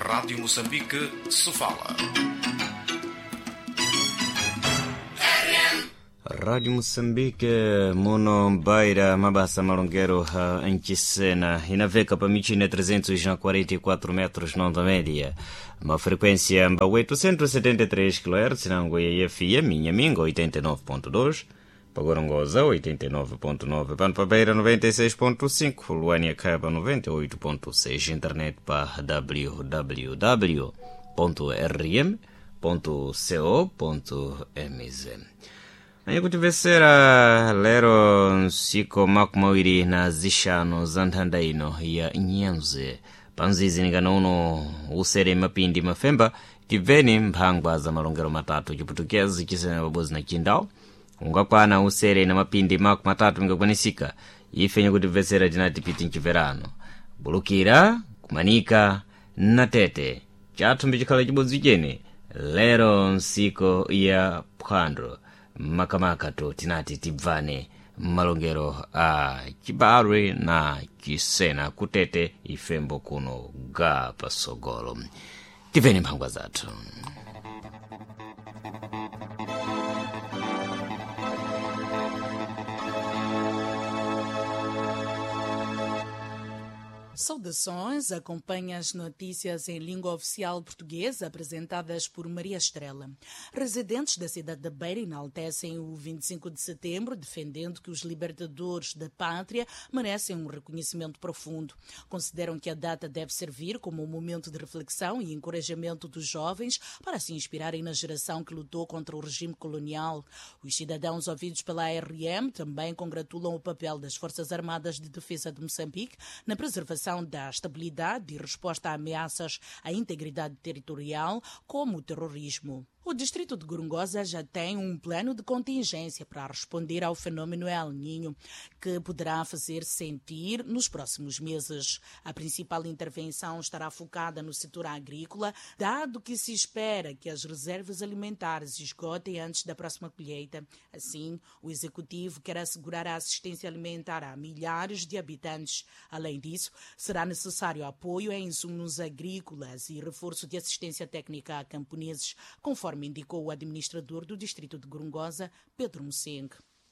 Rádio Moçambique, Sofala. Rádio Moçambique, muno Beira, mabasa malongero ncisena inaveka pa michina 344 metros nonda média, uma frequência mba 873 kHz nango ya FM Inhaminga 89.2, Pagorongosa 89.9, pano pa Beira 96.5, Luânia Caba 98.6, internet pa www.rm.co.mz. Anyikutimvesera lero nsiku 25 za nthanda ino ya nyenze panzizi nikana uno usere mapindi mafemba tibveni mphangwa za malongero matatu chiputukezi chisena pabodzi na chindau ungakwana usere na mapindi 30 mingakwanisika ife nyikutimvesera tinati piti mchiverano bulukira kumanika na tete chathu mbicikhala chibodzi chene lero nsiku ya phwando makamaka to tinati tibvane malongero a chibarwe na chisena kutete ifembo kuno ga pasogolo tibveni mphangwa zathu. Saudações, acompanha as notícias em língua oficial portuguesa apresentadas por Maria Estrela. Residentes da cidade da Beira enaltecem o 25 de setembro, defendendo que os libertadores da pátria merecem um reconhecimento profundo. Consideram que a data deve servir como um momento de reflexão e encorajamento dos jovens para se inspirarem na geração que lutou contra o regime colonial. Os cidadãos ouvidos pela ARM também congratulam o papel das Forças Armadas de Defesa de Moçambique na preservação da estabilidade e resposta a ameaças à integridade territorial, como o terrorismo. O distrito de Gorongosa já tem um plano de contingência para responder ao fenômeno El Niño, que poderá fazer sentir nos próximos meses. A principal intervenção estará focada no setor agrícola, dado que se espera que as reservas alimentares esgotem antes da próxima colheita. Assim, o executivo quer assegurar a assistência alimentar a milhares de habitantes. Além disso, será necessário apoio em insumos agrícolas e reforço de assistência técnica a camponeses, conforme indicou o administrador do distrito de Gorongosa, Pedro Mseng.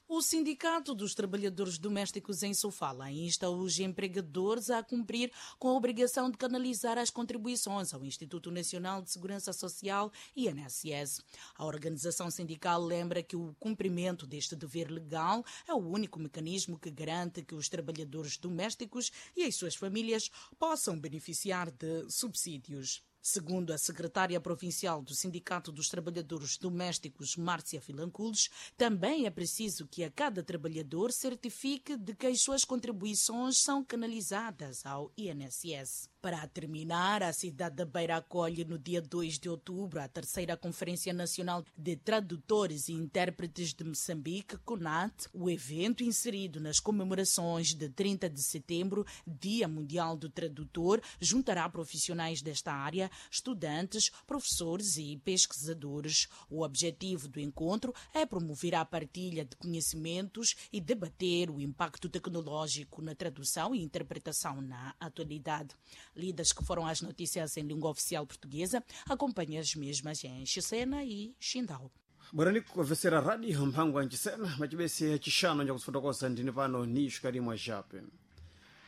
O Sindicato dos Trabalhadores Domésticos em Sofala insta os empregadores a cumprir com a obrigação de canalizar as contribuições ao Instituto Nacional de Segurança Social, INSS. A organização sindical lembra que o cumprimento deste dever legal é o único mecanismo que garante que os trabalhadores domésticos e as suas famílias possam beneficiar de subsídios. Segundo a secretária provincial do Sindicato dos Trabalhadores Domésticos, Márcia Filancules, também é preciso que a cada trabalhador certifique de que as suas contribuições são canalizadas ao INSS. Para terminar, a cidade da Beira acolhe no dia 2 de outubro a terceira Conferência Nacional de Tradutores e Intérpretes de Moçambique, CONAT. O evento, inserido nas comemorações de 30 de setembro, Dia Mundial do Tradutor, juntará profissionais desta área, estudantes, professores e pesquisadores. O objetivo do encontro é promover a partilha de conhecimentos e debater o impacto tecnológico na tradução e interpretação na atualidade. Lidas que foram as notícias em língua oficial portuguesa, acompanhe as mesmas em Xicena e Xindau. Bwerani kumvesera radio mphangwa nchisena macibese yacixano njakufotokoza ndini pano ni xikalimwa xape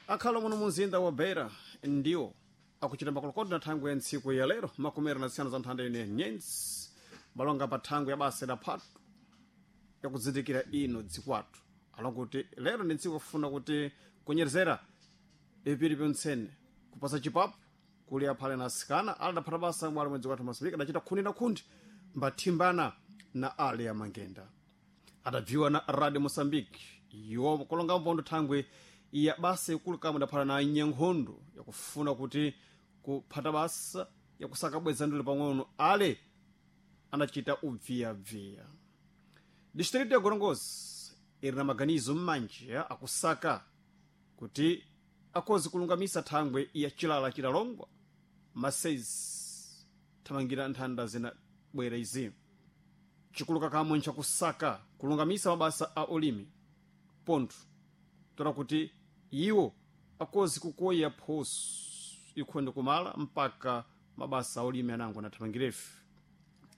akhala muno munzinda wa Beira ndiwo akuchita makolokoto na thangwe ya ntsiku ya lero 25 za nthanda ino ya nyenzi balonga pa thangwe ya basa la phatu yakuzindikira ino dzikwathu alonga kuti lero ndi ntsiku yakufuna kuti kunyerezera ipiri pyontsene kupasa chipapu kuli aphale na asikana ali adaphata basa mwali mwedzi kwathu Moçambique adachita khundi na khundi mbathimbana na ale ya mangenda adabviwa na Radio Moçambique iwo kulonga mpondo thangwe ya basa ikulu kamwe idaphala na nyankhondo yakufuna kuti kuphata basa yakusaka bweza ndule pang'ono ale anachita ubviyabviya distrito ya Gorongosa iri na maganizo m'manji akusaka kuti akhozi kulungamisa thangwe ya chilala chilalongwa masezi thamangira nthanda zinabwera izi chikuluka kamwe nchakusaka kulungamisa mabasa a ulimi pontho tola kuti iwo akhozi kukoya phoso ikhonde kumala mpaka Mabasa aulimi anango anathamangirefe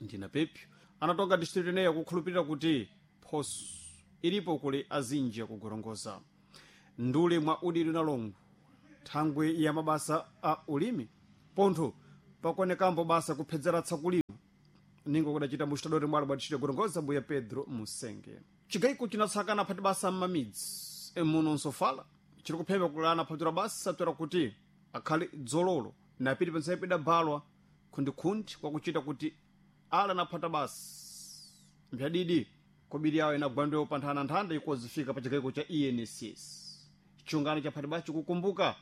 ndina pepyo anatonga distritu ineyo kukhulupirira kuti phoso ilipo kuli azinji akugorongoza ndule mwa udidi unalongo thangwi ya mabasa a ulimi pontho pakuonekambo basa kupsedzeratsa kulima ningo kudacita muxitadori mwalo bwa distrito gorongoza mbuya Pedro Musenge. Chigayiko chinatsakana phati basa m'mamidzi muno nsofala chiri kuphemba kulana phatura basa toera kuti akhale dzololo napiti pensayi pidabalwa khundikhundi kwakuchita kuti ala naphata basa mphyadidi kobiri yawo inagwandewo pa nthananthanda ikozifika pa chigayiko cha ENSS. Chiungano cha phati basa chikukumbuka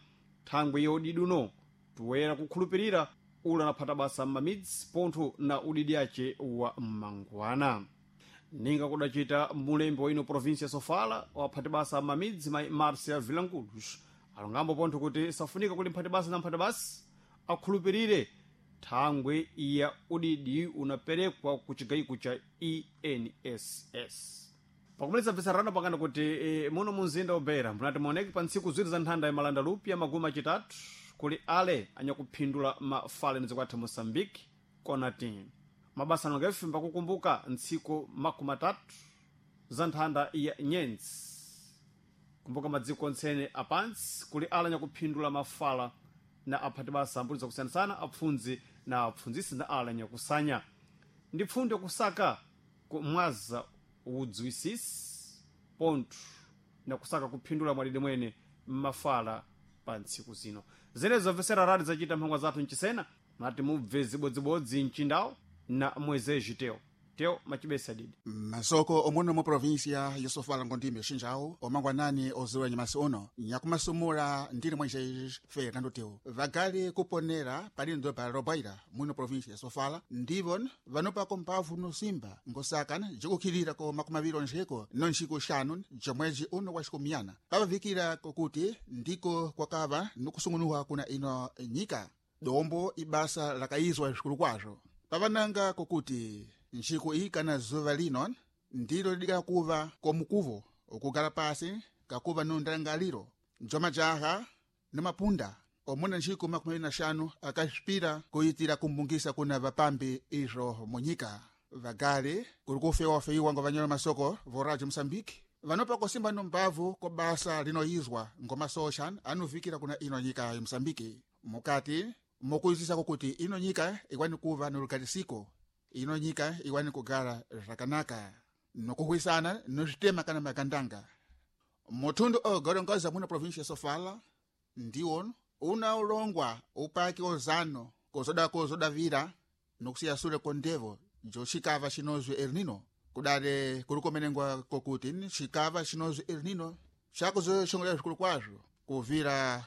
thangwi ya udidi uno toyera kukhulupirira ula naphata basa m'mamidzi pontho na udidi ace wa mmangwana. Ninga kudacita mulembi wa ino província Sofala waphati basa m'mamidzi mai Marcia Vilanculos alongambo pontho kuti safunika kuli mphati basa na mphati basa akhulupirire thangwi ya udidi unaperekwa ku chigayiko cha ENSS. Pakumaliza bvisarano pakana kuti muno munzinda wa Beira munati muoneke pa ntsiku ziwiri za nthanda ya malanda lupya magumi achitatu kuli ale anyakuphindula mafale nizikwatha Moçambique konati mabasa anongefe mbakukumbuka ntsiku 30 za nthanda ya nyenzi kumbuka madziko ontsene apansi kuli ala anyakuphindula mafala na aphati basa ambuli zakusiyanasana apfundzi na apfundzisi na ala anyakusanya ndi pfundo kusaka kumwaza udziwisisi pontho na kusaka kuphindula mwadidi mwene mmafala pa ntsiku zino. Zenezo zomvesera radi zacita mphangwa zathu mchisena mati mubve zibodzibodzi mchindawo na mwezeji teo teo macibesa didi. Masoko omuno mu província ya Sofala ngondime xinjawo omangwanani oziwa nyamasi uno nyakumasumula ndili mwenje Fernando Teo vagali kuponera palindo pa Robaira muno província ya Sofala ndivo vanopako mphavu nosimba ngosakana jikukhilira ko 20 onjeko nonxiku xanu jomwezi uno wa xikumiyana pavavikira kokuti ndiko kwakava nukusungunuwa kuna ino nyika dombo ibasa lakayizwa zvikulu kwazvo pavananga kokuti nxiku iyi kana zuva lino ndilo lidikala kuva komukuvo okugala pasi kakuva nondalangaliro njomajaha nomapunda omuna nxiku 25 akasvipira kuyitira kumbungisa kuna vapambi izvo munyika vagali kuli kufewafeiwa ngo vanyola masoko voradio Moçambique vanopa kosimba nombavu ko basa linoyizwa ngomasoxa anuvikira kuna ino nyika ya Moçambique mukati mokuyisisa kokuti ino nyika ikwani kuva nolukalisiko ino nyika iwani kugala zvakanaka nokuhwisana nozvitema kana magandanga muthundu ogorongoza muno província ya Sofala ndiwo una ulongwa upaki ozano kozoda kozodavira nokusiya sule kondevo jo xikava xinozwi El Nino kudale kuli kumenengwa kokuti xikava xinozwi El Nino xakuzoxongolera zvikulu kwazvo kuvira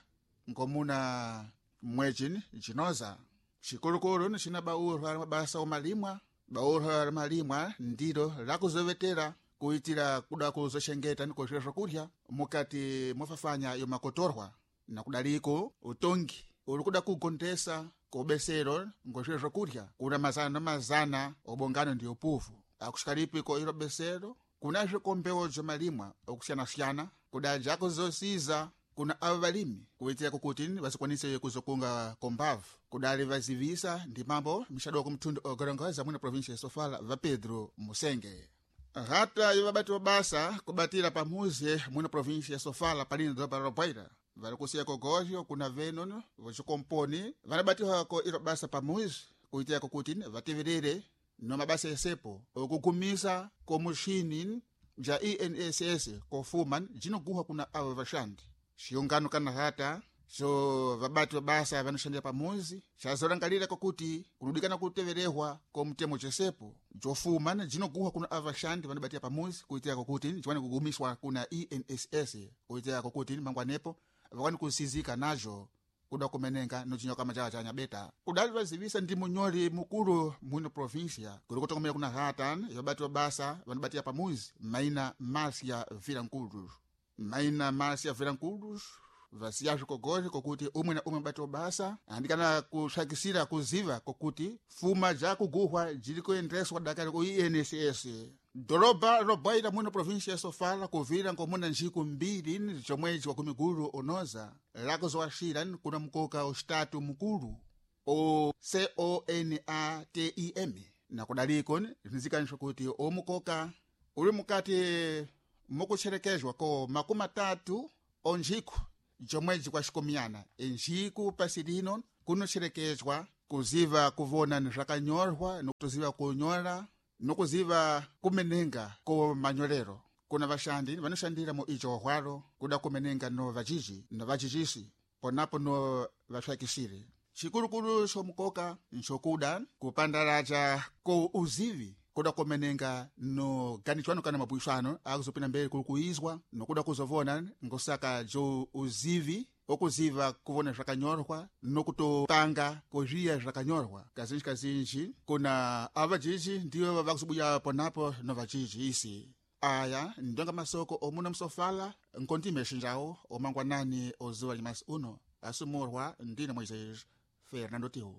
ngomuna mwedzi jinoza xikulukulu xina baurwa la mabasa omalimwa baurwa la malimwa ndilo lakuzovetera kuitira kuda kuzoxengeta nikozvira zvakurya mukati mofafanya yomakotorwa na kudaliko utongi uli kuda kugondesa kobesero ngozvira zvakurya kuna mazana na mazana obongano ndi upuvu akuxikalipiko ilo besero kunazve kombewo zomalimwa okusiyana-siyana kudaja akuzosiza kuna avo valimi kuitira kukuti vasikwanise kuzokunga kombavu kudali vazivisa ndi mambo mixadoko mthundu ogorongoza mwina província ya Sofala va Pedro Musenge rata yovabati wa basa kubatira pamuzi mwina província ya Sofala palini doroba la Robaira vari kusiya kogozho kuna venono vocikomponi vanabatiwako ilo basa pamuzi kuitira kukuti vateverere no mabasa esepo okugumisa komuxini ja ENSS kofuma jinoguha kuna avo vaxandi xiungano kana rata xo vabati va basa vanoxandira pamuzi xazolangalira kokuti kunodikana kuteverehwa komutemo cesepo jofuma jinoguhwa kuna ava vaxandi vanobatira pamuzi kuitira kokuti jiwane kugumiswa kuna ENSS kuitira kokuti mangwanepo vakwani kusizika najo kuda kumenenga nocinyoka majaha ca nyabeta kudali vazivisa ndi munyoli mukulu mwino província kuli kutokomera kuna rata yobati wa basa vanobatira pamuzi maina Marcia Vilanculos maina Marcia Vilanculos vasiya zvikogozi kokuti umwe na umwe mubati wa basa andikana kusvakisira kuziva kokuti fuma jakuguhwa jiri kuendeswa dakari ku ENSS doroba robaira muno província ya Sofala kuvira ngomuna njiku 2 zomwezi wa kumiguru unoza lakuzowaxira kuna mukoka uxitatu mukulu. O CONATIM nakudaliko zinzikanisho kuti omukoka uli mukati mukucherekezwa ko 30 onjiku jomwedzi kwa xikomiyana enjiku pasi lino kunocherekezwa kuziva kuvona ni zvakanyorwa nokutoziva kunyola nokuziva kumenenga ko manyolero. Kuna vaxandi vanoshandira mu ijo hwalo kuda kumenenga no vajiji no vajijisi ponapo no vaxakisiri. Xikulukulu xomukoka nxokuda kupandalaja ko uzivi kuda kumenenga no ganichwano kana mabwixano akuzopinda mbele kuli kuizwa nokuda kuzovona ngosaka jo uzivi okuziva kuvona zvakanyorwa nokutopanga kozviya zvakanyorwa. Kazinji kazinji kuna avajiji ndiwo vakuzobuya ponapo no vajiji isi. Aya ndonga masoko omuna msofala nkondime xinjawo omangwanani ozuwa limasi uno asumurwa ndine Moisés Fernando Tiu.